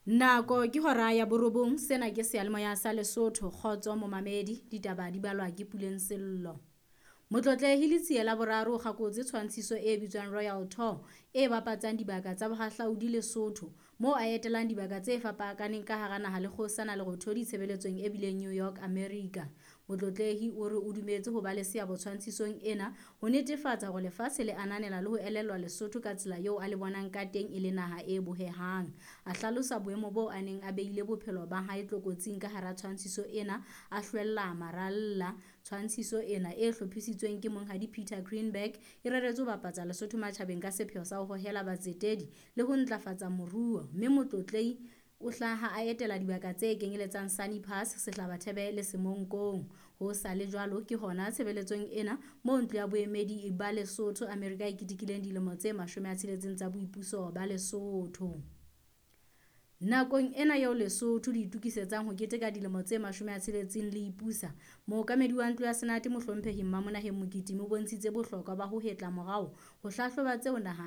Nako ke hora ya borobong, sena ke seyalemoya sa Lesotho, kgotso momamedi, ditaba di balwa ke Puleng Sello. Motlotlehi Letsie la boraro o kgakotse tshwantshiso e bitswang Royal Tour e bapatsang dibaka tsa bohahlaudi Lesotho, moo a etelang dibaka tse fapakaneng ka hara naha le kgosana Lerothodi tshebeletsong e bileng New York, America. Motlotlehi o re o dumetse ho ba le seabo tshwantshisong ena ho netefatsa hore lefatshe le ananela le ho elellwa Lesotho ka tsela eo a le bonang ka teng e le naha e bohehang. A hlalosa boemo boo a neng a beile bophelo ba hae tlokotsing ka hara tshwantshiso ena a hlwella maralla. Tshwantshiso ena e hlophisitsweng ke Monghadi Peter Greenberg e reretswe ho bapatsa Lesotho matjhabeng ka sepheo sa ho hohela batsetedi le ho ntlafatsa moruo, mme Motlotlehi o hlaha a etela dibaka tse kenyeletsang Sani Pass, Sehlabathebe le Semonkong. Ho sa le jwalo ke hona tshebeletsong ena moo ntlo ya boemedi ba Lesotho Amerika e ketekileng dilemo tse 60 tsa boipuso ba Lesotho. Nakong ena eo Lesotho le itokisetsang ho keteka dilemo tse 60 le ipusa, mookamedi wa ntlo ya Senate Mohlomphehi Mmamonaheng Mokitimi o bontshitse bohlokwa ba ho hetla morao ho hlahloba tseo naha